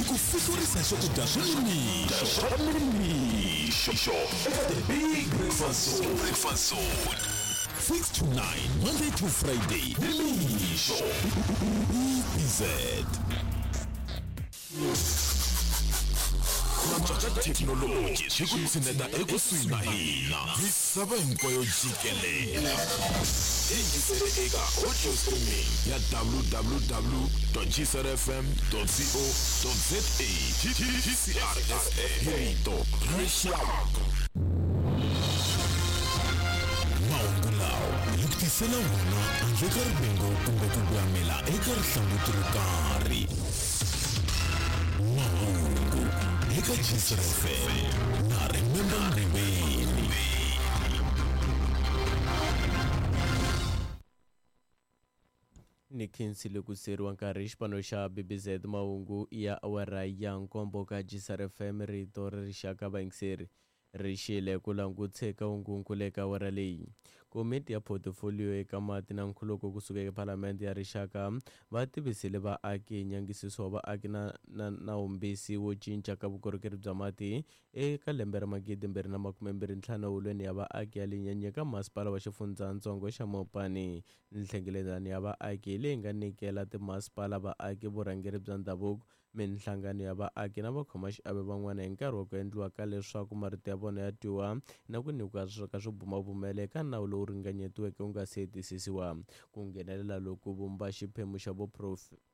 Hi ku fihlurisa swakudya swa nimixo swa nimixo eka The Big Breakfast Zone. Breakfast Zone. 6 to 9, Monday to Friday, nimixo. BZ. Ku antswa ka thekinoloji swi ku tshineta ekusuhi na hina misava hinkwayo jikelele. Yingisele eka audio streaming ya www.gcrfm.co.za GCRFM hi rito ra rixaka. Mahungu lawa hi ku tisela wona handle ka rivengo kumbe ku voyamela eka rihlanguti ro karhi. Mahungu eka GCR FM na Remember Mriveni. Ni khensile ku siyeriwa nkarhi xipano xa BBZ mahungu ya awara ya nkombo ka GCR FM rito ra rixaka vayingiseri ri xile ku langutse ka hungunkulu eka awara leyi. Komiti ya Portfolio eka mati na nkhuluko kusuka eka Palamende ya Rixaka va tivisile vaaki hi nyangisiso wa vaaki na na nawumbisi wo cinca ka vukorhokeri bya mati eka lembe ra 2025 eholweni ya vaaki ya Linyanyi eka masipala wa xifundzatsongo xa Mopani. Nhlengeletano ya vaaki leyi nga nyikela timasipala vaaki vurhangeri bya ndhavuko minhlangano ya vaaki na vakhomaxiave van'wana hi nkarhi wa ku endliwa ka leswaku marito ya vona ya twiwa na ku nyikiwa ka swibumabumelo eka nawu lowu ringanyetiweke wu nga si hetisisiwa. Ku nghenelela loku vumba xiphemu xa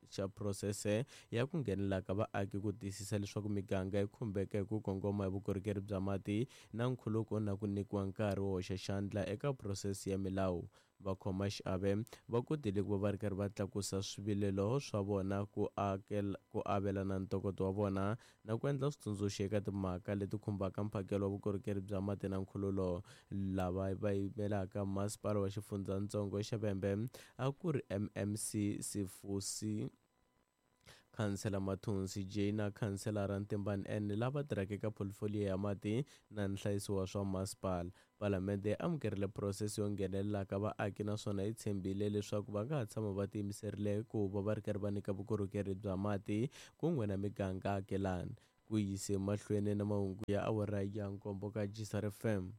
xa phurosese ya ku nghenelela ka vaaki ku tiyisisa leswaku miganga yi khumbeka hi ku kongoma hi vukorhokeri bya mati na nkhuluko na ku nyikiwa nkarhi wo hoxa xandla eka phurosese ya milawu. Vakhomaxiave va kotile ku va va ri karhi va tlakusa swivilelo swa vona ku akela ku avelana ntokoto wa vona na ku endla switsundzuxo eka timhaka leti khumbaka mphakelo wa vukorhokeri bya mati na nkhululo. Lava va yimelaka masipala wa xifundzatsongo xa Vhembe a ku ri MMC Sifusi Khansela Mathonsi J na Khanselara Ntimbani N lava tirhaka eka pholifoliyo ya mati na nhlayiso wa swa masipala. Palamende yi amukerile phurosese yo nghenelela ka vaaki naswona yi tshembile leswaku va nga ha tshama va tiyimiserile ku va va ri karhi va nyika vukorhokeri bya mati kun'we na miganga akelani. Ku yise mahlweni na mahungu ya awara ya nkombo ka GCR FM.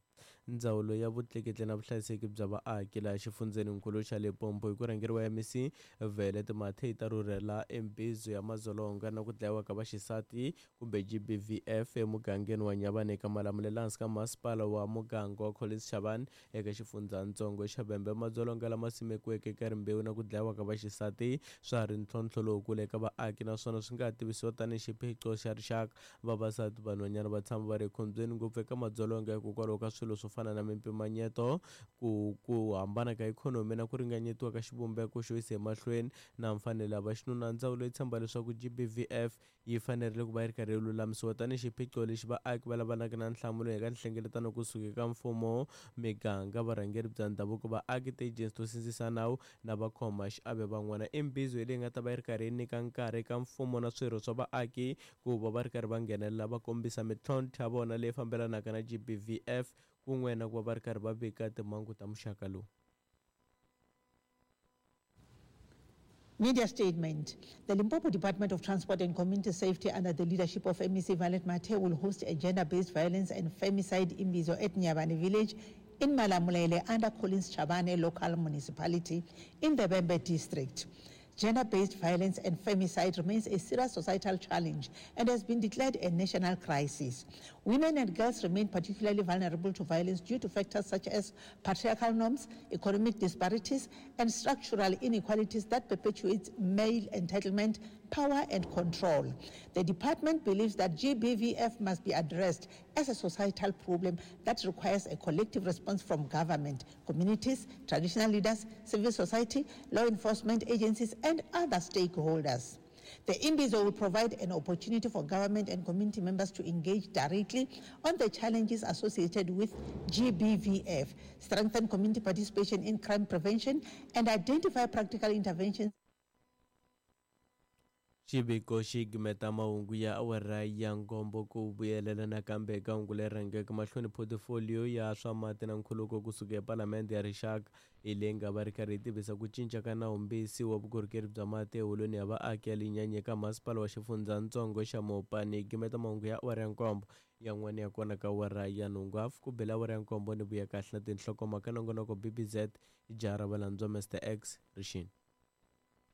Ndzawulo ya Vutleketli na Vuhlayiseki bya Vaaki laha xifundzheninkulu xa Limpopo hi ku rhangeriwa MEC Violet Mathe yi ta rhurhela embizo ya madzolonga na ku dlayiwa ka vaxisati kumbe GBVF emugangeni wa Nyavane eka Malamulele hansi ka masipala wa muganga wa Collins Chabane eka xifundzhantsongo xa Vhembe. Madzolonga lama simekiweke eka rimbewu na ku dlayiwa ka vaxisati swa ha ri ntlhontlho lowukulu eka vaaki naswona swi nga ha tivisiwa tanihi xiphiqo xa rixaka. Vavasati vanhwanyana va tshama va ri ekhombyeni ngopfu eka madzolonga hikokwalaho ka swilo swo fana na mimpimanyeto, ku ku hambana ka ikhonomi na ku ringanyetiwa ka xivumbeko xo yisa emahlweni na mfanelo ya vaxinuna. Ndzawulo yi tshemba leswaku GBVF yi fanerile ku va yi ri karhi yi lulamisiwa tanihi xiphiqo lexi vaaki va lavanaka na nhlamulo eka nhlengeletano kusuka eka mfumo, miganga, varhangeri bya ndhavuko, vaaki, tiejensi to sindzisa nawu na vakhomaxiave van'wana. Imbizo leyi nga ta va yi ri karhi yi nyika nkarhi eka mfumo na swirho swa vaaki ku va va ri karhi va nghenelela va kombisa mitlhontlho ya vona leyi fambelanaka na GBVF kun'we na ku va va ri karhi va vika timhangu ta muxaka lowu. Media statement. The Limpopo Department of Transport and Community Safety, under the leadership of MEC Violet Mathe, will host a gender-based violence and femicide imbizo at Nyabane village in Malamulele under Collins Chabane local municipality in the Vhembe district. Gender-based violence and femicide remains a serious societal challenge and has been declared a national crisis. Women and girls remain particularly vulnerable to violence due to factors such as patriarchal norms, economic disparities, and structural inequalities that perpetuate male entitlement, power, and control. The department believes that GBVF must be addressed as a societal problem that requires a collective response from government, communities, traditional leaders, civil society, law enforcement agencies, and other stakeholders. The Imbizo will provide an opportunity for government and community members to engage directly on the challenges associated with GBVF, strengthen community participation in crime prevention, and identify practical interventions. Xiviko xi gimeta mahungu ya awara ya nkombo. Ku vuyelela nakambe eka hungu leri rhangeke mahlweni, photifoliyo ya swa mati na nkhuluko kusuka ePalamende ya Rixaka hi leyi nga va ri karhi yi tivisa ku cinca ka nawumbisi wa vukorhokeri bya mati eholweni ya vaaki ya Linyanyi eka masipala wa xifundzatsongo xa Mopani. Gimeta mahungu ya awara ya nkombo yan'wana ya kona ka awara ya nhungu hafu ku bela awara ya nkombo ni vuya kahle na tinhlokomhaka. Nongonoko BBZ jaha ra valandzwa Mr X rixini.